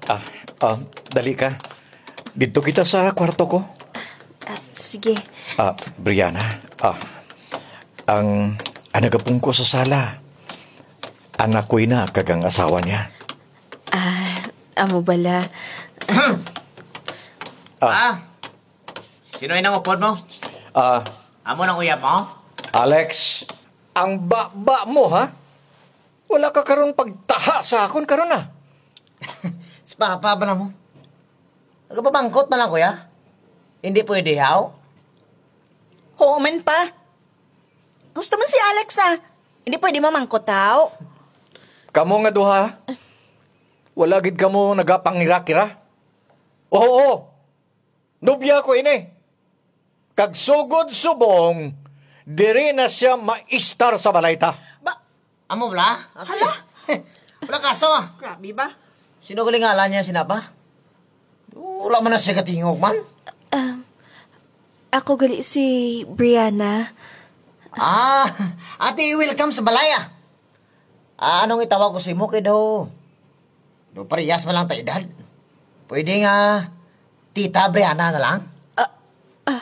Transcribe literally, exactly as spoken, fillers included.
Ah, ah, dali ka. Didto kita sa kwarto ko. Ah, sige. Ah, Brianna, ah, ang, ang nagapungko sa sala, anak ko ina kag ang asawa niya. Ah, amo bala. Ah. Ah, sino inang upod mo? Ah. Amo nang uyab mo? Alex, ang baba mo, ha? Wala ka karon pagtaha sa akon karon, ah. Si Papa ba na mo? Nagapamangkot man lang, kuya. Hindi pwede, haw? Oo man, pa. Gusto man si Alex, ah. Hindi pwede mamangkot, haw? Kamo nga duha, wala gid kamo nagapangirakira? Oo, nobya ko ini. Kag sugod subong, diri na siya maistar sa balay ta. Ba, amo bala? Ate. Hala? Wala kaso, ah. Grabe ba? Sino gali ngalan niya, sinapa? Wala man na siya katingog man. Um, ako gali si Brianna. Ah, ate, welcome sa balay, ah. Ah, anong itawag ko sa imo kay daw? Do parehas man lang ta edad. Pwede nga Tita Brianna na lang.